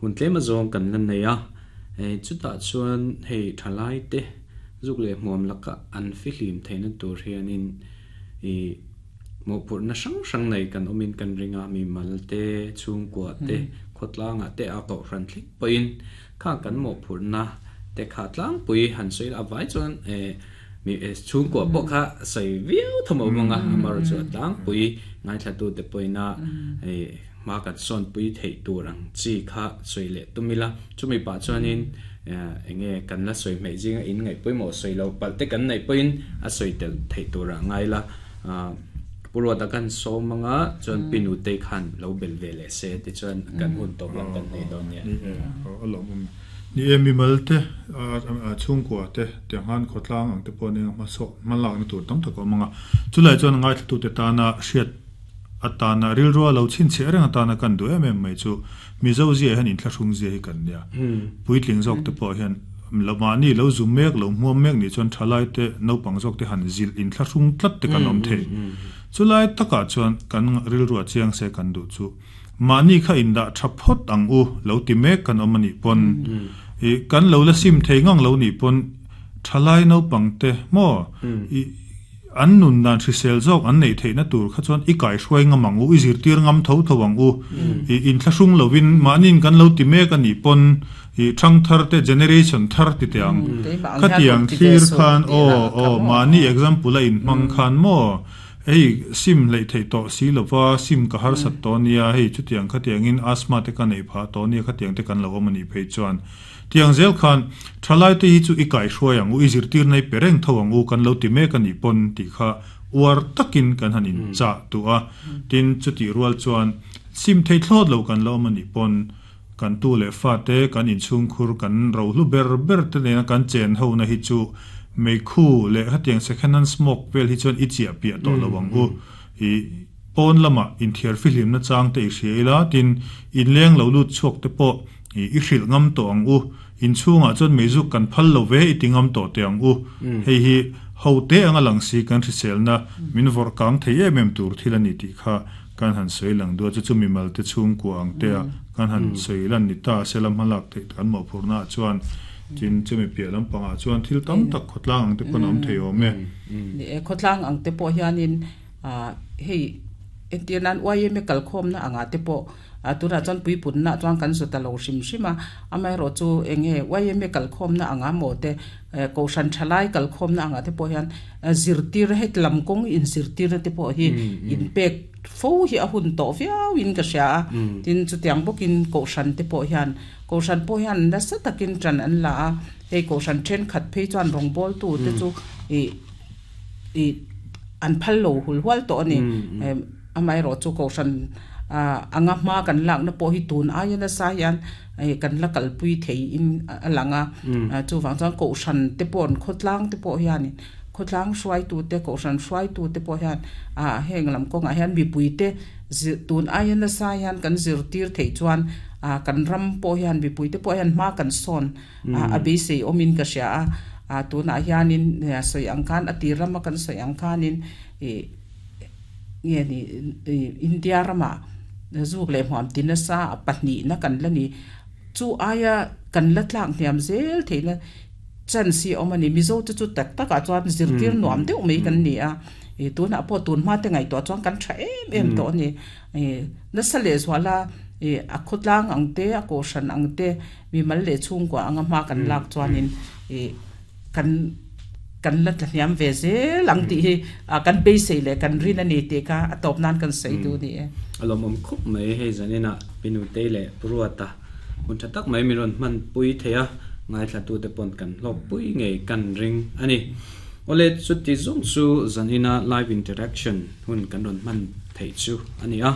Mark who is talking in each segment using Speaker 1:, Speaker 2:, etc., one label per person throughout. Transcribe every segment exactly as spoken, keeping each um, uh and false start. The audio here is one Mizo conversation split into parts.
Speaker 1: Hun tlem azawng kan la nei a, hei chutah chuan hei thalai te zuk leh hmuam laka an fihlim theihna tur hianin ih mawhphurhna hrang hrang nei kan awmin kan ring a, mi mal te, chhungkua te, khawtlangah te a kohhran thleng pawhin kha kan mawhphurhna te kha tlangpui han sawi la avai chuan eh mi chhungkua pawh kha sawi viau thawm a awm ang a, amaherawhchu chu a tlangpui ngaithla te pawhina eh ma kan sawn pui theih tur ang chi kha sawi leh tum ila chumi pah chuanin enge kan la sawi hmeh zinga in ngaih pawimawh sawi lo palh te kan neih pawhin a sawi tel theih turah ngai la Puruata kan sawm anga chuan pinu te khan lo bel ve leh se ti chuan kan hun tawp lam kan nei dawn nia.
Speaker 2: Ni e a lawm awm ni e mi mal te a chhungkua te tiang han khawtlang ang te pawh nia hma saw hma lak na tur tam tak a awm anga chulai chuan ngaithla tu te tana hriat atana rilrua lo chin che reng atana kan du em em mai chu mizo zia hian inthlahrung zia hi kan nia puitling zawk te pawh hian lo mahni lo zum mek lo hmuam mek ni chuan thalai te naupang zawk te han zil inthlahrung tlat te kan awm thei chulai takah chuan kan rilrua chiang se kan du chu mahni kha indah tha phawt ang u lo ti mek kan awm ani pawn i kan lo la sim thei ngang lo ni pawn thalai naupang te maw i an nun dan hrisel zawk an nei theihna tur kha chuan i kai hruai ngam ang u i zirtir ngam tho tho ang u i inthlahrung lovin mahnin kan lo ti mek ani pawn i thang thar te generation thar ti te ang khatiang thlir khan aw aw mahni example a in hmang khan maw hei sim hlei thei tawh si lova sim ka har sat to nia hei chutiang khatiang in asthma te ka nei pha to nia khatiang te kan lo awm ani phei chuan tiang zel khan thalai te hi chu i kai hruai ang u i zirtir nei pereng tho ang u kan lo ti mek ani pawn ti kha uar takin kan han in cha tu a tin chuti rual chuan sim thei thlawt lo kan lo awm ani pawn kan tu leh fa te kan inchhung khur kan ro hlu ber ber te nena kan chen ho na hi chu mei khu leh hetiang second hand smoke vel hi chuan i chiah piah tawh lo ang u i pawn lama inthiar fihlim na chang te i hria ila tin in leng lo lut chhuak te pawh i i hrilh ngam tawh ang u inchhungah chuan meizuk kan phal lo ve i ti ngam tawh te ang u hei hi ho te anga lang si kan hriselna min vawrh kang thei em em tur thil ani tih kha kan han sawi lang dua chu chu mimal te chhungkua ang te a kan han sawi lan ni ta se lam halak theih kan mawhphurhna ah chuan tin chumi piah lampangah chuan thil tam tak khawtlang ang te pawn a awm thei awm e.
Speaker 3: Ni e khawtlang ang te pawh hianin ah hei entirnan Y M A kalkhawmna anga te pawh a tunah chuan puipunna chuan kan zawt a lo hrim hrim a amaherawh chu enge Y M A kalkhawmna anga maw te kohhran thalai kalkhawmna anga te pawh hian zirtir hei lam kawng in zirtir te pawh hi in pek fo hi a hun tawh viau in ka hria a tin chutiang bawkin kohhran te pawh hian kohhran pawh hian nasa takin tan an la a hei kohhran then khat phei chuan rawng bawl tu te chu i i an phal lo hul hual tawh ani amaherawh chu kohhran anga hma kan lak na pawh hi tun aia nasa hian kan la kalpui thei in a lang a chuwang chuan kohhran te pawh an khawtlang te pawh hian khawtlang hruai tu te kohhran hruai tu te pawh hian a heng lam kawngah hian mipui te tun aia nasa hian kan zirtir thei chuan a kan ram pawh hian mipui te pawh hian hma kan sawn a beisei awmin ka hria a a tunah hianin sawi ang khan a tir rama kan sawi ang khanin i nge ni India rama zuk leh hmuam ti nasa a pahnih na kan la ni chu aia kan la tlak hniam zel theihna chance hi awm ani mizo te chu tak takah chuan zirtir nuam deuh mai kan ni a i tunah pawh tun hma te ngaihtuah chuan kan tha em em tawh ani i nasa leh zuala i a khawtlang ang te a kohhran ang te mi mal leh chhungkua anga hma kan lak chuanin i kan kan la tla hniam ve zel ang tih hi kan beisei leh kan rin ani tih kha a tawp nan kan sawi du ni e.
Speaker 1: Alawm awm khup mai hei zanina pinu te leh Puruata hun tha tak mai mi rawn hman pui thei a ngaithla tu te pawn kan hlawk pui ngei kan ring ani. Awle chuti zawng chu zanina live interaction hun kan rawn hman theih chu ani a.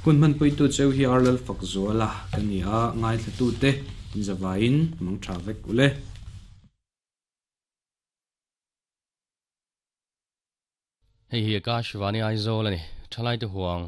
Speaker 1: Hun hman pui tu cheu hi Arlal fak zuala kan ni a ngaithla tu te inzawain mang tha vek ule.
Speaker 4: Hei hi Akashvani Aizawl ani thalai te huang.